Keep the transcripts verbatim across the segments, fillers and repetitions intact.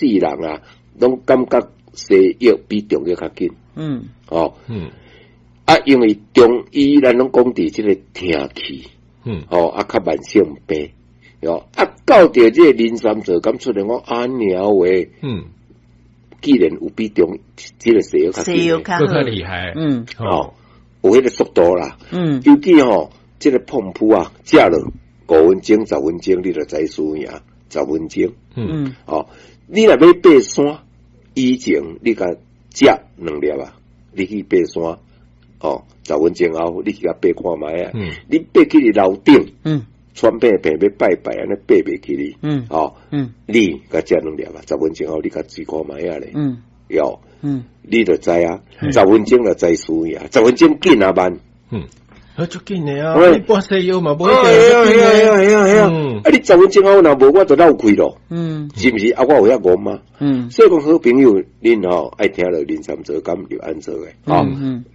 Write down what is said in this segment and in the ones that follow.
世人啊，攏感覺西藥比中藥較緊。嗯，哦，嗯，啊，因為中醫咱攏講佇這個聽氣，嗯，哦，啊，較慢性病，哦，啊，到著這個靈山做敢出來講按呢話，嗯，既然有比中這個西藥較西藥較閣較厲害，嗯，哦，有彼個速度啦，嗯，尤其吼，這個膨噗啊，食落五分鐘、十分鐘，你就知輸贏，十分鐘，嗯，哦，你若欲爬山，以前你共食兩粒啊，你去爬山，哦，十分鐘後你去共爬看覓啊，嗯，你爬去樓頂，嗯，喘病病欲拜拜按呢爬袂起哩，嗯，哦，嗯，你共食兩粒啊，十分鐘後你共試看覓啊咧，嗯，喲，嗯，你就知啊，十分鐘就知輸贏，十分鐘緊啊慢，嗯。啊，足緊的啊！你半西藥嘛，無一定係啊係啊係啊係啊！啊，你十分鐘後若無，我就漏氣咯。嗯，是毋是？啊，我有遐戇嗎？嗯，所以講好朋友，恁吼愛聽著靈山做敢入安做的，吼，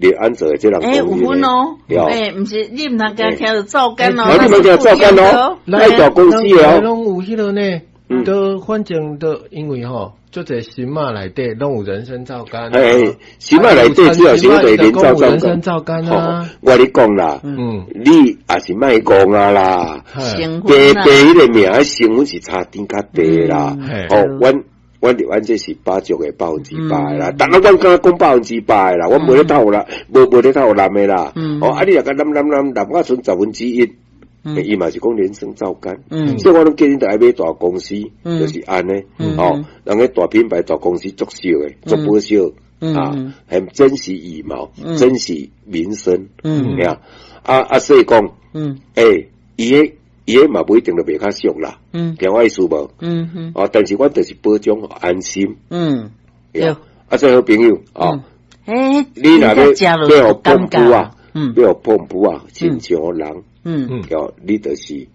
入安做的這人欸，有分哦，欸，毋是你毋通共聽著皂苷哦，你毋通聽皂苷哦，愛大公司的哦，攏有彼個呢，都反正都因為吼。足濟神馬內底攏有人參皂苷，哎，神馬內底主要是對人參皂人參皂苷啊。我咧講啦，嗯，你也是莫講啊啦，白白彼個名成分是差頂較低啦。哦，阮阮伫阮這是百足的百分之百啦，但係阮敢講百分之百啦，阮無咧偷啦，無無咧偷濫的啦。哦，啊你若共濫濫濫濫到賰十分之一。伊嘛是講人參皂苷，所以我攏建議著愛買大公司，就是按呢，哦，人個大品牌大公司足俗的，足保守啊，很珍惜羽毛，珍惜民生，嗯，啊啊，所以講，欸，伊个伊个嘛無一定就袂較俗啦，嗯，聽我意思無？嗯嗯，哦，但是阮就是保障安心，嗯，對，啊，所以好朋友，哦，欸，你若欲欲予膨噗啊，嗯，欲予膨噗啊，親像人。嗯，哦，你就是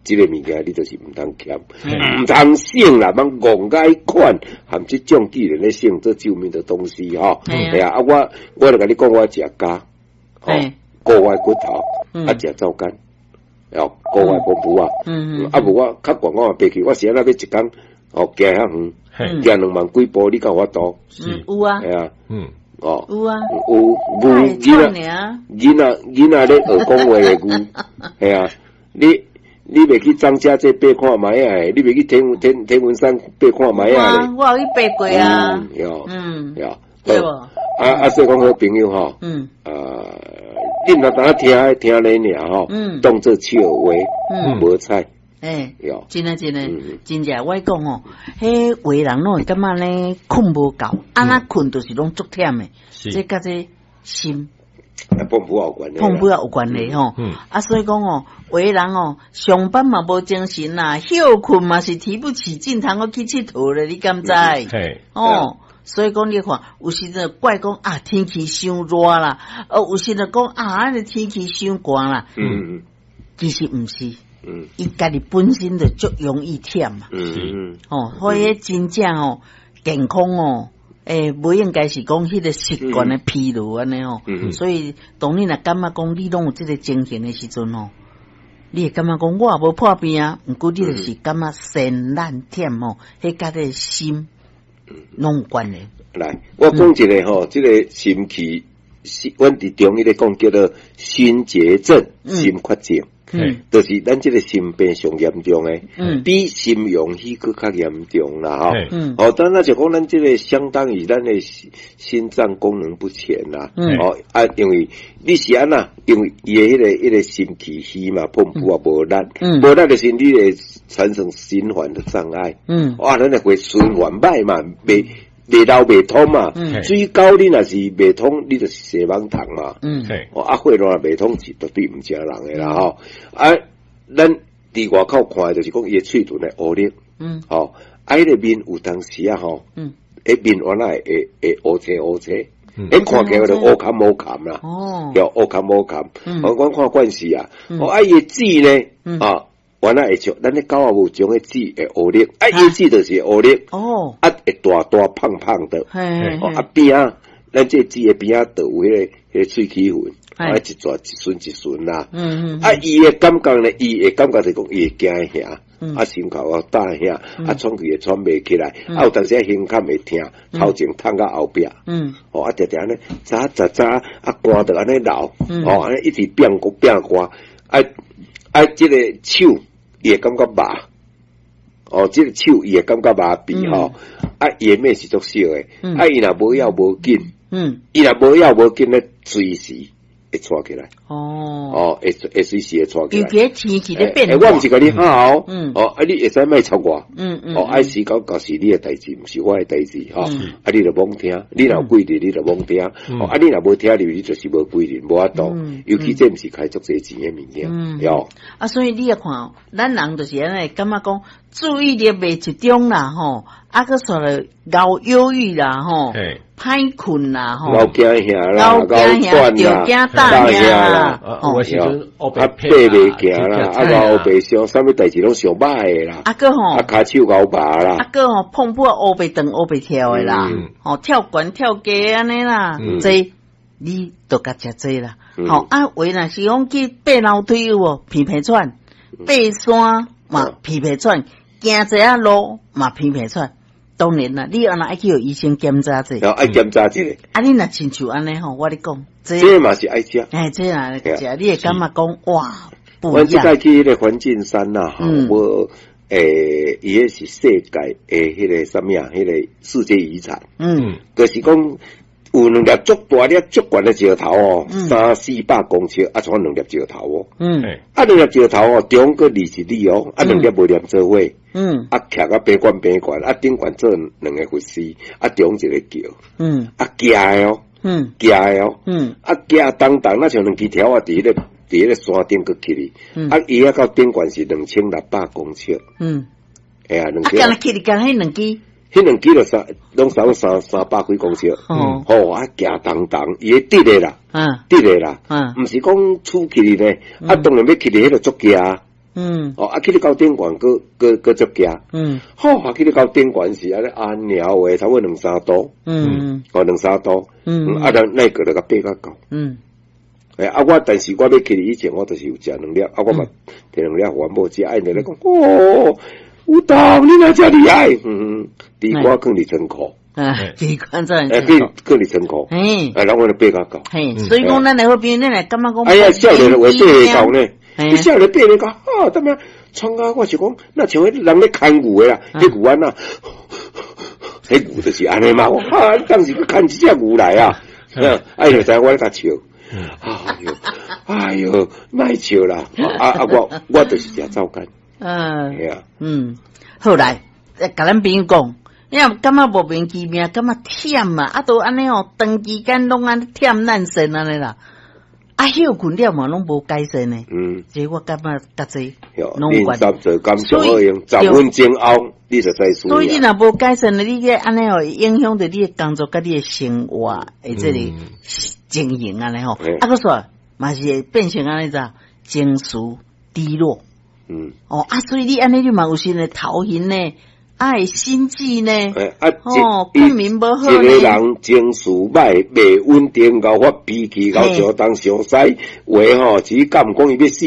這個物件，你就是毋通欠，毋通省啦，茫戇甲彼款，含這種既然咧省這救命的東西吼，係啊，啊我我就共你講，我食鉀，哦，顧我骨頭，啊食皂苷，哦，顧我膨噗啊，啊無我較懸我嘛爬去，我是按怎欲一工，哦，行遐遠，行兩萬幾步，你敢有法度？有啊，係啊，嗯。哦，有啊，有牛囡仔，囡仔囡仔咧學講話的牛，係啊，你你袂去張家界爬看覓啊？你袂去天天天文山爬看覓啊？我有去爬過啊，嗯，對無？啊啊，所以講好朋友吼，嗯，啊，你毋通單聽聽咧爾吼，當做笑話，無彩。欸，真的真的，真正我講吼，彼有的人攏會感覺呢睏無夠，按怎睏就是攏足忝的，這佮這心，膨噗有關係，膨噗也有關係吼。啊，所以講哦，有的人哦，上班嘛無精神啦，歇睏嘛是提不起勁，通閣去𨑨迌咧，你敢知？哦，所以講你看，有時陣怪講啊，天氣傷熱啦，哦，有時陣講啊，按呢天氣傷寒啦，嗯，其實毋是。嗯，伊家己本身就足容易忝嘛，嗯，哦，所以真正哦，健康哦，欸，無應該是講彼個習慣的疲勞按呢吼，所以當你若感覺講你攏有這個情形的時陣吼，你會感覺講我也無破病啊，毋過你就是感覺身懶忝吼，彼佮這個心攏有關係。來，我講一個吼，這個心氣，阮佇中醫咧講叫做心結症、心缺症。嗯，就是咱這個心病上嚴重的，嗯，比心陽虛閣較嚴重啦，吼，嗯，哦，但那就講咱這個相當於咱的心臟功能不全啦，嗯，哦，啊，因為你是按怎，因為伊的彼個彼個心氣虛嘛，膨噗也無力，嗯，無力的時你會產生循環的障礙，嗯，哇，咱會循環歹嘛，袂袂流袂通嘛，水溝你若是袂通，你就是洗網桶嘛。嗯，哦，啊，血路若袂通是絕對毋正人的啦吼。啊，咱佇外口看的就是講伊的喙唇會烏綠，嗯，吼，啊，彼個面有當時啊吼，嗯，彼面原來會會烏青烏青，彼看起來就烏坎烏坎啦，哦，叫烏坎烏坎。我阮看慣勢啊，哦，啊，伊的舌呢，啊。原來會像咱咧狗仔無種的舌會烏綠，啊，伊舌就是烏綠，哦，啊，會大大胖胖的，哦，啊邊仔，咱這舌的邊仔就有彼個彼個喙齒痕，啊，一撮一順一順啦，嗯嗯，啊，伊的感覺呢，伊會感覺就講伊會驚嚇，啊，心口啊焦遐，啊，喘氣會喘袂起來，啊，有當時胸坎會疼，頭前痛到後壁，嗯，哦，啊，定定按呢，早早早啊，汗就按呢流，哦，按呢一直變變汗，啊啊，這个手伊會感覺麻，哦，這个手伊會感覺麻痹吼，啊，伊的脈是足少的，啊，伊若無要無緊，嗯，伊若無要無緊咧，隨時會喘起來，哦，哦，會會隨時會喘起來。尤其天氣咧變化，我毋是共你嚇哦，嗯，哦，啊，你會使莫插我，嗯嗯，哦，愛時到舊是你的代誌，毋是我的代誌，吼，啊，你著罔聽，你若有規定，你著罔聽，哦，啊，你若無聽入，你就是無規定，無法度，尤其這毋是開足濟錢的物件，喲。啊，所以你也看，咱人就是按呢，感覺講注意力袂集中啦，吼，啊，閣煞來𠢕憂鬱啦，吼，歹睏啦，吼，𠢕驚嚇啦，𠢕驚嚇，著驚膽嚇啦，有的時陣啊，爬袂行啦，啊，𠢕白想，啥物代誌攏想歹的啦，啊，閣吼，啊，跤手𠢕麻啦，啊，閣吼，碰碰烏白轉烏白跳的啦，吼，跳懸跳低按呢啦，這你都共食這啦，吼，啊，話若是講去爬樓梯有無？鼻鼻喘，爬山嘛鼻鼻喘，行一下路嘛鼻鼻喘。當然啦，你若愛去予醫生檢查者，愛檢查者。啊，你若親像按呢吼，我咧講，這嘛是愛食。哎，這若食，你會感覺講哇，不一阮這樣。擺去彼个環境山啦，吼，我誒，伊彼是世界的彼个啥物啊？彼个世界遺產。嗯，就是講有兩粒足大粒足懸的石頭哦，三四百公尺，啊，像兩粒石頭哦。嗯，啊，兩粒石頭哦，長閣二十里哦，啊，兩粒無連做伙。嗯，啊，徛啊，爬懸爬懸，啊，頂懸做兩个佛寺，啊，中一个橋，嗯，啊，行的哦，嗯，行的哦，嗯，啊，行當當，若像兩支條仔佇彼个佇彼个山頂閣起去，啊，伊遐到頂懸是兩千六百公尺，嗯，哎呀，兩千，啊，敢若起去，敢彼兩支，彼兩支就三，攏差三三百幾公尺，哦，吼，啊，行當當，伊會直的啦，嗯，直的啦，嗯，毋是講出去呢，啊，當然欲起去，彼个足驚。嗯，哦，啊，去咧到頂懸，閣閣閣足驚。嗯，好，啊，去咧到頂懸是按呢按鳥話，差不多兩三度。嗯，哦，兩三度。嗯，啊，咱那個就共爬較高。嗯，欸，啊，我但是我欲去以前，我就是有食兩粒，啊，我嘛提兩粒予阮某食，啊，𪜶就咧講，哦，有當，你哪遮厲害？嗯，地瓜囥佇倉庫。啊，地瓜在。欸，囥囥佇倉庫。嘿，啊，然後我就爬較高。嘿，所以講咱的好朋友，咱來感覺講。哎呀，少年話爬會高呢。你少年爬咧講，啊，怎麼創啊？我是講，若像彼人咧牽牛的啦，彼牛按怎，彼牛就是按呢嘛。啊，你當時閣牽一隻牛來啊？啊，伊就知影我咧共笑。哎喲，哎喲，莫笑啦！啊啊，我我就是食皂苷。嗯，係啊，嗯，好來，共咱朋友講，你若感覺莫名其妙，感覺忝啊，啊，都按呢哦，長期間攏按呢忝爛身按呢啦。啊，歇睏了嘛，攏無改善呢。嗯，這我感覺佮這攏有關。練習做感上好用，十分鐘後你就知所以你若無改善呢，你這按呢哦，影響著你的工作佮你的生活的這個情形按呢吼。啊，閣說嘛是會變成按呢怎情緒低落。嗯。哦，啊，所以你按呢你嘛有時呢頭暈呢。啊，會心悸呢？欸啊，哦，困眠無好一個人情緒歹、袂穩定，𠢕發脾氣，𠢕上東上西，話吼，只敢講伊欲死，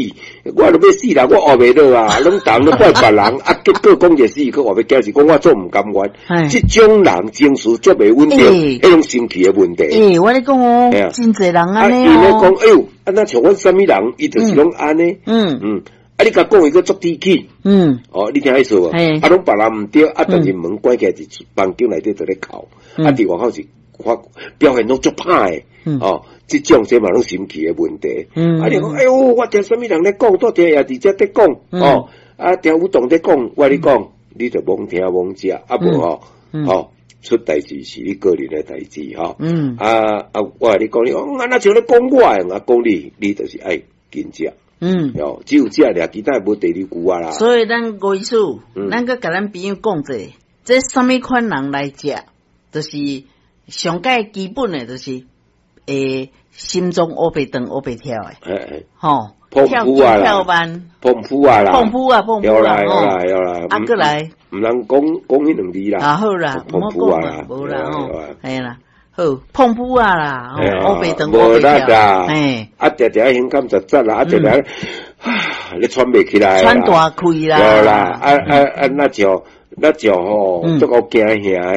我都欲死啦，我學袂落啊，攏當咧怪別人，啊，結果講一死，閣話欲驚是講我做毋甘願。這種人情緒足袂穩定，彼種心氣的問題。欸，我咧講哦，真濟人按呢哦。伊咧講，哎喲，啊，若像阮啥物人，伊就是攏按呢。嗯嗯。啊！你共講伊閣足低氣，嗯，哦，你聽意思無？啊，攏別人毋對，啊，但是門關起來佇房間內底佇咧哭，啊，佇外口是發表現攏足歹的，哦，這種這嘛攏心氣的問題。嗯，啊，你講，哎喲，我聽啥物人咧講，拄聽也佇遮咧講，哦，啊，聽有當咧講，我咧講，你就罔聽罔食，啊無吼，吼，出代誌是你個人的代誌，吼，嗯，啊啊，我共你講，你講，啊，若像咧講我的，啊，講你，你就是愛緊食。嗯，哦，只有這爾，其他無第二句啊啦。所以咱吳醫師，咱閣共咱朋友講者，這啥物款人來食，就是上蓋基本的，就是會心臟烏白轉烏白跳的，吼，跳跳慢，碰夫啊啦，碰夫啊，碰夫啦，有啦有啦，啊，閣來，毋通講講彼兩字啦，啊好啦，碰夫啊啦，無啦吼，嘿啦。好，碰夫啊啦，烏白轉烏白跳，嘿，啊，定定胸坎實實啦，啊，定定，你喘袂起來，喘大氣啦，對啦，啊啊啊，若像若像吼，足夠驚嚇。